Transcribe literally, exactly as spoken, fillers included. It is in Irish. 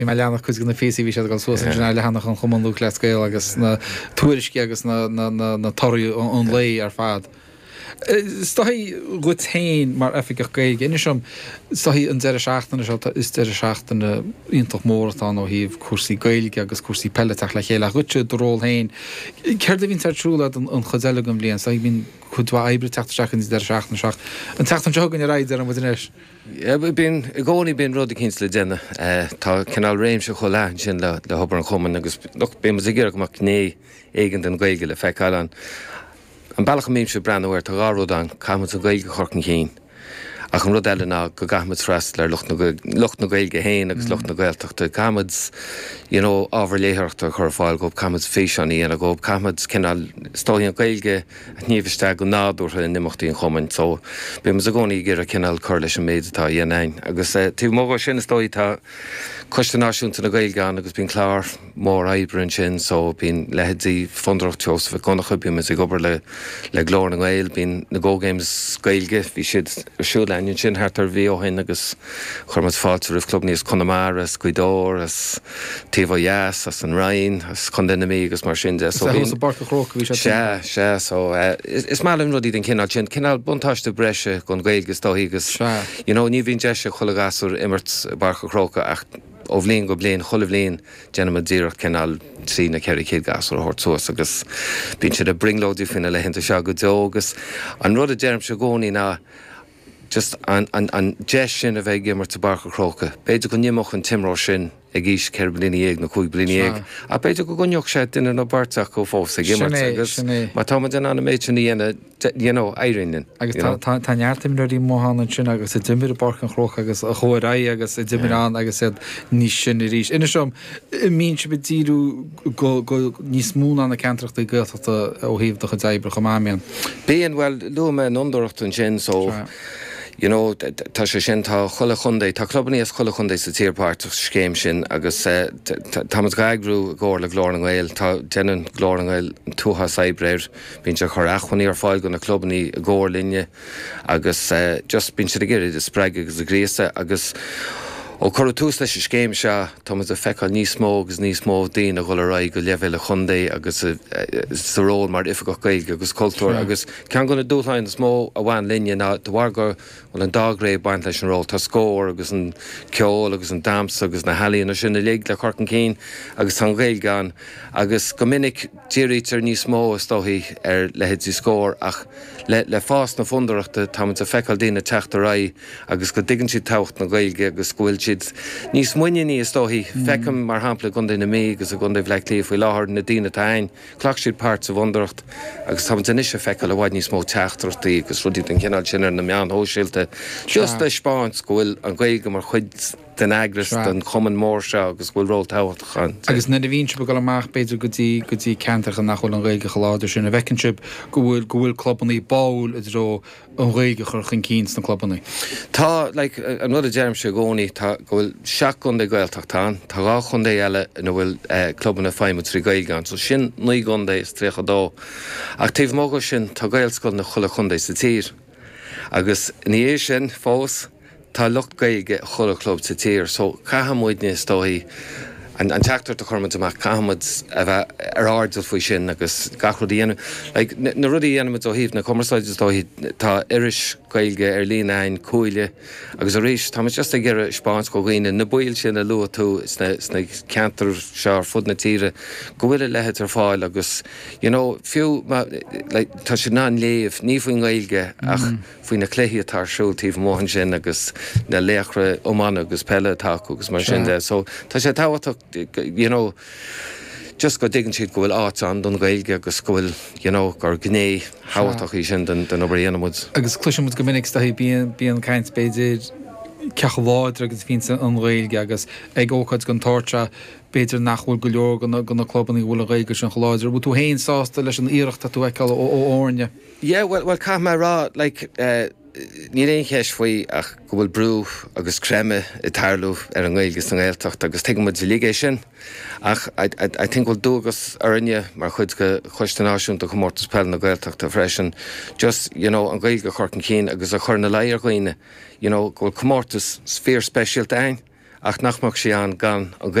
Bhí mé ag leanacht cuid de na píosaí, bhí siad ag dul suas ansin ar leathanach an Chumann Lúthchleas Gael agus na tuairiscí agus na na na na torthaí an lae ar fad. Is dóigh dhuit féin mar Oifigeach Gaeilge, inis dom, is dóigh an deireadh seachtaine seo, is deireadh seachtaine iontach mór atá ann ó thaobh cúrsaí Gaeilge agus cúrsaí peile ag teacht le chéile, ach dhuitse i do ról féin, céard a bhíonns ar siúl agat an chuid eile den bhliain? Is dóigh bíonn cuid mhaith oibre ag teacht isteach an deireadh seachtaine seo ach an tseachtain seo chugainn ar aghaidh, deireann muid anois. Bíonn, i gcónaí bíonn rud eicínt le déanamh. Tá cineál réimse chomh leathan sin le hobair an chumainn agus look, bíonn muid ag iarraidh go mbeadh gné éigin den Ghaeilge le feiceáil ann. An bealach a mbímse ag breathnú air, tá dhá rud ann, caithfidh muid an Ghaeilge a chur chun cinn, ach an rud eile ná go gcaithfidh muid freastal ar lucht na, lucht na Gaeilge féin agus lucht na Gaeltachta. Caithfidh muid, you know, ábhar léitheoireachta a chur ar fáil dhóibh, caithfidh muid físeáin a dhéanamh dhóibh, caithfidh muid cineál, is dóigh, an Ghaeilge a shníomh isteach go nádúrtha in imeachtaí an chumainn. So, bíonn muid i gcónaí ag iarraidh cineál cur leis an méid atá á dhéanamh againn. Agus taobh amuigh dhó sin, is dóigh, tá Coiste Náisiúnta na Gaeilge ann agus bíonn clár mór oibre ansin so bíonn leithéidí Fondúireacht Sheosaimh Mhic Dhonncha, bíonn muid ag obair le le Glór na nGael, bíonn na Go Games Gaeilge, bhí siad ar siúl againn ansin thart ar mhí ó shin agus chuir muid fáilte roimh clubanna as Conamara, as Gaoth Dobhair, as taobh ó dheas, as an Rinn, as Contae na Mí agus mar sin de so bíonn. Thuas i bPáirc an Chrócaigh a bhí siad. Sea, sea, so is maith linn rudaí den chineál sin, cineál buntáiste breise don Ghaeilge is dóichí agus you know ní bhíonn deis ag chuile ghasúr imirt i bPáirc an Chrócaigh ach ó bhliain go bliain, chuile bhliain, déanaimid iarracht cineál trí nó ceithre chéad gasúr a thabhairt suas agus bíonn siad ag brionglóidí faoi na laethanta seo go deo agus an rud a deirimse i gcónaí ná just an, an, an deis sin a bheith ag imirt i bPáirc an Chrócaigh, b'fhéidir go n-imeodh an t-imreoir sin ag aois ceithre bliana dhéag nó cúig bliana dhéag ach b'fhéidir go gcoinneodh sé duine nó beirt acu fós ag imirt agus má tá muid in ann an méid sin a dhéanamh, you know, éiríonn linn. Agus tá, tá, tá neart imreoirí amuigh ann ansin agus a d'imir i bPáirc an Chrócaigh agus a chuaigh ar aghaidh agus a d'imir ann agus iad níos sine arís. Inis dom, an mbíonn sibh ag díriú go, go níos mó ná na ceantrachtaí Gaeltachta ó thaobh do chuid oibre chomh maith, an mbíonn? Bíonn, bhuel, luaigh mé an Fhondúireacht ansin so, you know, tá sé sin, tá chuile chontae, tá clubannaí as chuile chontae sa tír páirteach sa scéim sin agus tá muid dhá eagrú i gcomhar le Glór na nGael, tá, déanann Glór na nGael an t-uafás oibre air. Bíonn siad ag cur acmhainní ar fáil do na clubannaí i gcomhar linne agus just bíonn siad ag iarraidh iad a spreagadh agus a ghríosadh agus ó cuireadh tús leis an scéim seo tá muid ag feiceáil níos mó agus níos mó daoine a dhul ar aghaidh go leibhéal an chontae agus sa ról mar Oifigeach Gaeilge agus Cultúir agus ceann de na dúshláin is mó a bhain linne ná de bharr go bhfuil an dá ghné ag baint leis an ról, tá Scór agus an ceol agus an damhsa agus na healaíona sin uilig le cur chun cinn agus tá an Ghaeilge ann agus go minic dírítear níos mó, is dóichí, ar leithéidí Scór ach le le fás na Fondúireachta táimid ag feiceáil daoine ag teacht ar aghaidh agus go dtuigeann siad tábhacht na Gaeilge agus go bhfuil siad níos muiníní, is dóichí. Feicim, mar shampla, i gContae na Mí agus i gContae Bhaile Átha Cliath faoi láthair, na daoine atá ann, ghlac siad páirt sa bhFondúireacht agus táimid anois ag feiceáil i bhfad níos mó teachtaireachtaí agus rudaí den chineál sin ar na meáin shóisialta just le 'speáint go bhfuil an Ghaeilge mar chuid den eagras, den chumann mór seo agus go bhfuil ról tábhachtach ann. Agus nuair a bhíonn sibh ag dul amach, b'fhéidir, go dtí, go dtí ceantracha nach bhfuil an Ghaeilge chomh láidir sin, an bhfeiceann sibh go bhfuil, go bhfuil clubannaí báúil i dtreo an Ghaeilge a chur chun cinn sna clubannaí? Tá, like, an rud a deirimse i gcónaí, tá, go bhfuil seacht gcontae Gaeltachta ann, tá dhá chontae eile ina bhfuil clubanna ag feidhmiú trí Ghaeilge ann, so sin naoi gcontae is tríocha dó. Ach taobh amuigh de sin, tá Gaelscoileanna chuile chontae sa tír. Agus ina dhiaidh sin fós, tá lucht Gaeilge i chuile chlub sa tír so caithfidh muidne is dóichí an teachtaireacht a chuir muid amach, caithfidh muid a bheith ar airdeall faoi sin agus gach rud a dhéanamh. Like na rudaí a dhéanaimid ó thaobh na cumarsáide is dóichí, tá iris Gaeilge ar líne againn, Cuaille, agus arís táimid just ag iarraidh 'speáint do dhaoine, na baill sin a luaigh tú sna sna ceantair seo ar fud na tíre, go bhfuil a leithéid ar fáil agus you know fiú má like tá siad in ann léamh, ní faoin nGaeilge ach faoi na cluichí atá ar siúl taobh amuigh ansin agus na laochra iomána agus peile atá acu agus mar sin de. So tá sé tábhachtach you know just go dtuigeann siad go bhfuil áit ann don Ghaeilge agus go bhfuil you know gur gné thábhachtach í sin den den obair a dhéanann muid. Agus cloiseann muid go minic is dóichí bíonn bíonn caint b'fhéidir cé chomh láidir agus a bhíonns an Ghaeilge agus ag ócáid den tsórt seo b'fhéidir nach bhfuil go leor de na de na clubanna a bhfuil an Ghaeilge sin chomh láidir. An bhfuil tú féin sásta leis an iarracht atá tú a fheiceáil ó ó fhoirne? Yeah, bhuel, bhuel, caithfidh mé a rá, like, eh, níl aon cheist faoi ach go bhfuil brú agus creimeadh ag tarlú ar an nGaeilge sa nGaeltacht agus tuigeann muid uilig é sin. Ach I, I, I think go bhfuil dualgas orainne mar chuid de Choiste Náisiúnta Chomórtas Peile na Gaeltachta freisin just, you know, an Ghaeilge a chur chun cinn agus a chur ina luí ar dhaoine, you know, go bhfuil comórtas fíor-speisialta againn. ach nach mbeadh sí ann gan an